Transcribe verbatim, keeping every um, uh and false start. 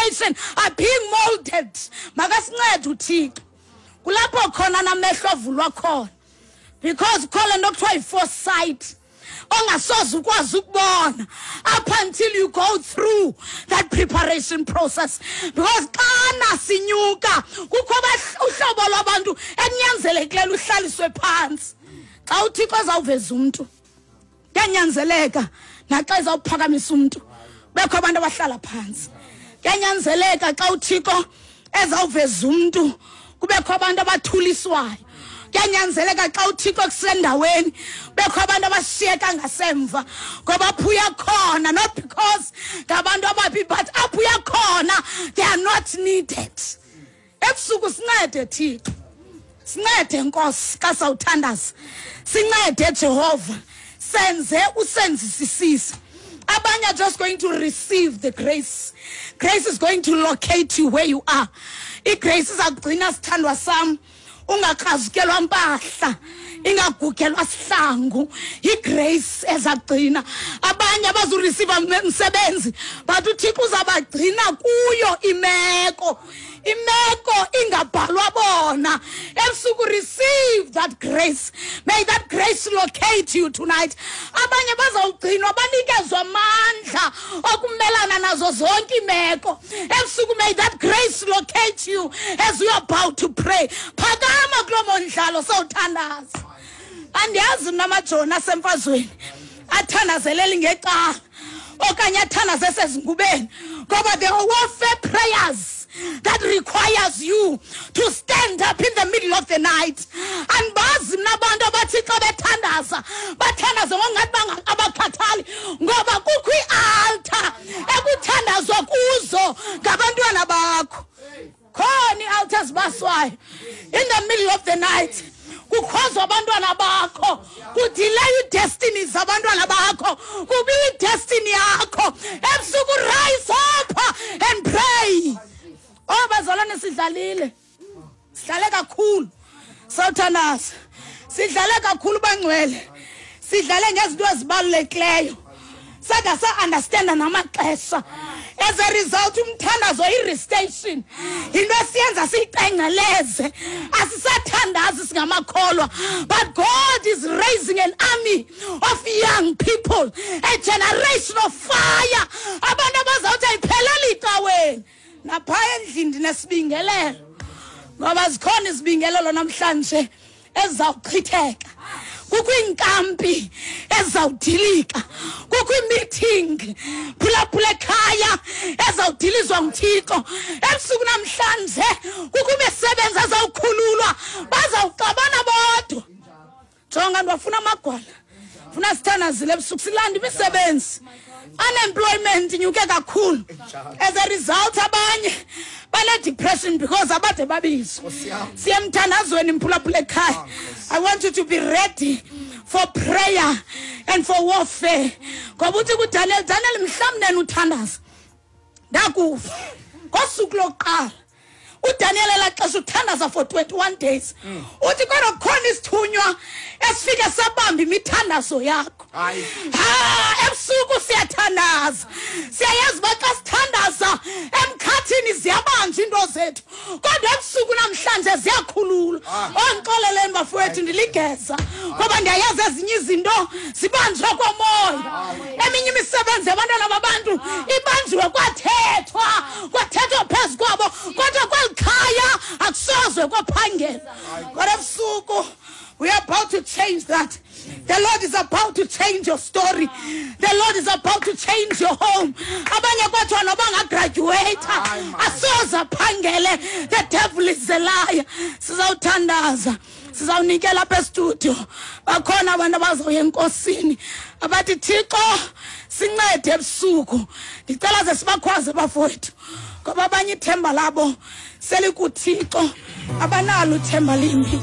generation are being molded. Makasincede uThixo. Kulapho khona namehlo avulwa khona, because kukho le nto kuthiwa yi-foresight ongasoze ukwazi ukubona up until you go through that preparation process, because xana sinyuka kukho uhlobo lwabantu ekunyanzelekileyo luhlaliswe phantsi. Xa uThixo ezawuveza umntu, kuyanyanzeleka naxa ezawuphakamisa umntu bekho abantu abahlala phantsi. Kuyanyanzeleka xa uThixo ezawuveza umntu kubekho abantu abathuliswayo. Kuyanyanzeleka xa uThixo kusendaweni bekho abantu abashiyeka ngasemva, ngoba apho uya khona, not because ngabantu ababi, but apho uya khona they are not needed. Ebusuku sincede Thixo, sincede Nkosi xa sawuthandaza, sincede Jehova, senze usenzisisise. Abanye are just going to receive the grace. Grace is going to locate you where you are. I-grace izakugcina, sithandwa sam, ungakrazukelwa mpahla, ingagugelwa sihlangu. I-grace ezagcina. Abanye abazureceive umsebenzi, but uThixo uzabagcina kuyo imeko, imeko ingabhalwa bona. Ebusuku receive that grace. May that grace locate you tonight. Abanye bazawugcinwa banikezwa amandla okumelana nazo zonke imeko. Ebusuku may that grace locate you as you are about to pray. Phakama kulo mondlalo sawuthandaza. Andiyazi mna amajoni asemfazweni athandazelela ngecala okanye athandaze sezingubeni, ngoba there are warfare prayers that requires you to stand up in the middle of the night. Andibazi mna abantu abathi xa bethandaza bathandaze ngokungathi abakhathali, ngoba kukho ii-altar ekuthandazwa kuzo ngabantwana bakho. Khona ii-altar ezibaswayo in the middle of the night, kukhozwa abantwana bakho, kudelay ii-destiny zabantwana bakho, kubiwa idestiny yakho. Ebusuku rise up and pray. Oh bazalwane, sidlalile, sidlale kakhulu. Sawuthandaza, sidlale kakhulu bangcwele, sidlale ngezinto ezibalulekileyo, sada sa-understanda namaxesha. As a result, umthandazo i-restation yinto esiyenza siyicengeleze, asisathandazi singamakholwa. But God is raising an army of young people, a generation of fire, abantu abazawuthi ayipheleli icaweni, naphaya endlini ndinesibingelelo, ngoba zikhona izibingelelo namhlanje ezizawuchitheka. Kukho iinkampi ezizawudilika, kukho imeeting, phulaphula ekhaya, ezawudilizwa nguThixo ebusuku namhlanje. Kukho imisebenzi ezawukhululwa, bazawuxabana bodwa. Jonga, ndiwafuna amagwala, funa sithandazile ebusuku silanda imisebenzi. Unemployment inyuke kakhulu. As a result, abanye bane-depression because abade babizwa. Siye emthandazweni, mphulaphula ekhaya. I want you to be ready for prayer and for warfare, ngoba uthi kuDaniel, "Daniel, mhlawumbi uthandaza ndakuva." Ngosuku lokuqala uDaniel elaa xesha uthandaza for twenty-one days, uthi kodwa kukhona isithunywa esifike sabamba imithandazo yakho. Hayi. Ha, ebusuku siyathandaza, siyayazi uba xa sithandaza emkhathini ziyabanjwa into zethu, kodwa ebusuku namhlanje ziyakhululwa. Ondixoleleni bafowethu, ndiligeza ngoba ndiyayazi ezinye izinto zibanjwe komoya. Eminye imisebenzi yabantwana babantu ibanjiwe, kwathethwa kwathethwa phezu kwabo, kodwa kweli khaya akusozwe kwaphangela. Kodwa ebusuku we are about to change that. The Lord is about to change your story. The Lord is about to change your home. Abanye kwathiwa noba ngagraduate asoze aphangele. The devil is a liar. Sizawuthandaza, sizawunikela apha estudio. Bakhona abantu abazawuya enkosini abathi, "Thixo, sincede ebusuku." Ndicela ze sibakhwaze bafowethu, ngoba abanye ithemba labo selikuThixo, abanalo ithemba limbi.